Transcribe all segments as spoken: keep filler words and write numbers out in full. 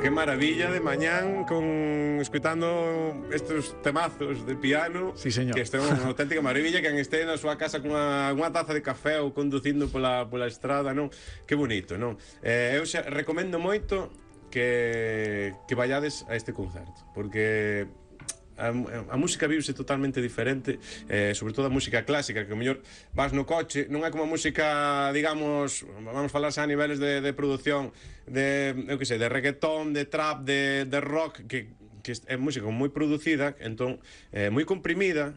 qué maravilla de mañán con escuitando estos temazos de piano. Sí, señor. Que isto é unha auténtica maravilla, que este na súa casa cunha unha taza de café ou conducindo pola, pola estrada, non? Que bonito, non? Eh, eu xa recomendo moito que, que vayades a este concerto, porque A, a música viuse totalmente diferente, eh, sobre todo a música clásica, que o mellor vas no coche, non é como a música, digamos, vamos falar xa a niveles de, de produción de, eu que sei, de reggaetón, de trap, de, de rock, que, que é música moi producida, entón, eh, moi comprimida,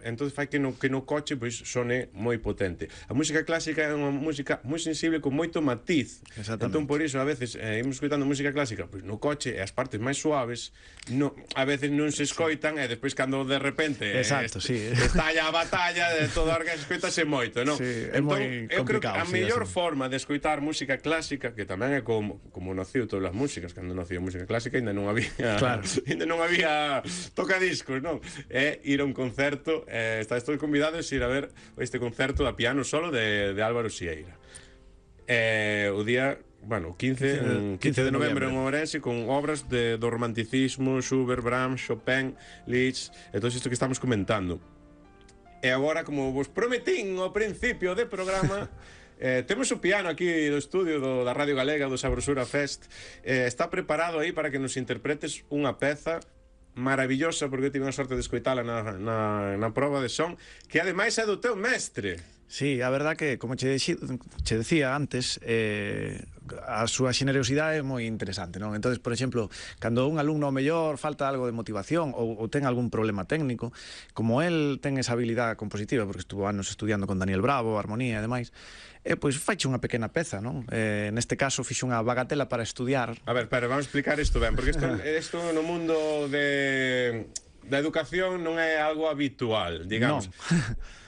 entón fai que no, que no coche pois sone moi potente. A música clásica é unha música moi sensible con moito matiz. Entón por iso a veces eh, imos escoitando música clásica pois no coche e as partes máis suaves no, a veces non se escoitan, sí. E despois cando de repente Exacto, eh, sí. estalla a batalla de todo o que escoitase moito, non? Sí, é entón, moi eu creo que a complicado, sí, mellor así. forma de escoitar música clásica, que tamén é como, como naciu todas as músicas, cando naciu a música clásica ainda non había claro. ainda non había tocadiscos, non? É ir a un concerto, eh, está estou convidados a ir a ver este concerto a piano solo de, de Álvaro Sieira. Eh, o día, bueno, quince, quince de novembro en Ourense, con obras de, do romanticismo, Schubert, Brahms, Chopin, Liszt, e todo isto que estamos comentando. E agora, como vos prometín ao principio do programa, eh, temos o piano aquí do estudio do, da Radio Galega, do Sabrosura Fest. Eh, está preparado aí para que nos interpretes unha peza maravillosa, porque eu tive a sorte de escoitala na, na, na proba de son, que ademais é do teu mestre. Sí, a verdad que, como che, dixi, che decía antes, eh, a súa xenerosidade é moi interesante, non? Entonces, por exemplo, cando un alumno mellor falta algo de motivación ou, ou ten algún problema técnico, como el ten esa habilidade compositiva, porque estuvo anos estudiando con Daniel Bravo, armonía e demais, eh, pois faiche unha pequena peza, non? Eh, neste caso fixe unha bagatela para estudiar. A ver, pero vamos explicar isto ben, porque isto, isto no mundo de da educación non é algo habitual, digamos. Non.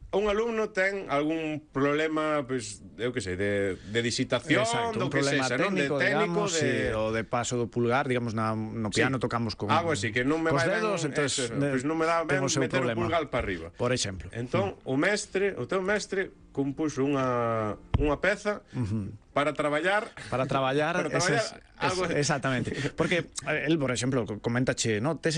Un alumno ten algún problema, pois, eu que sei, de, de disitación, exacto, do un que problema sexa, técnico, non? De técnico, digamos, de... sí, o de paso do pulgar, digamos, na, no piano sí. Tocamos con algo así, que non me cos vai dedos, ben, entonces, eso, pois non me dá ben meter o pulgar para arriba. Por exemplo. Entón, mm. o mestre, o teu mestre compuxo unha, unha peza uh-huh. para traballar para traballar, para traballar esas, algo es, exactamente, porque el, por exemplo, coméntache, no, tes